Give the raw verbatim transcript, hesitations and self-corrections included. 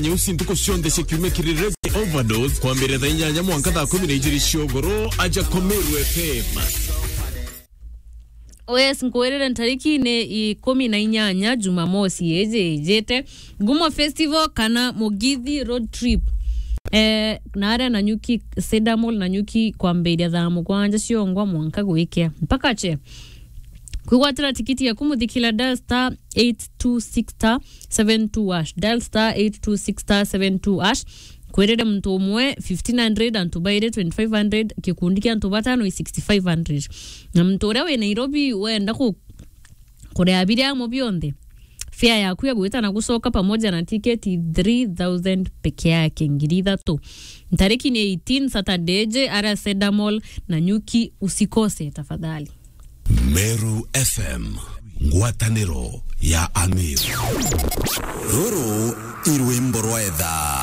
Nyeusi ntuku cionthe cia kiumia kiri Reggae Overdose, kwambiria thaa inyanya mwanka thaa kumi na ijiri cia ugoro, aja kwa Meru F M. Yes, nkwirire ntarikine ikumi na inyanya, Jumamosi iji ijite, Ngumo Festival kana Mugithi Road Trip. Eh, na aria Nanyuki, Cedar Mall Nanyuki, kwambiria thaa mugwanja ciongwa mwanka gwikia. Mpaka che. Kwigwatira tikiti yaku, muthikira, dial star eight two six star seven two hash. Dial star eight two six star seven two hash. Kwirire muntu umwe fifteen hundred, antu bairi twenty-five hundred, gikundi kia antu batano i sixty-five hundred. Na muntu uria wi Nairobi wenda ku-, kuria biria amo bionthe, fare yaku ya gwita na gucoka pamoja na tiketi three thousand peke yake, ngiri ithatu. Ntariki ni eighteen, Saturday, je aria Cedar Mall Nanyuki, usikose tafadhali. Meru F M, ngwataniro ya Ameru. Ruru i rwimbo rwa etha.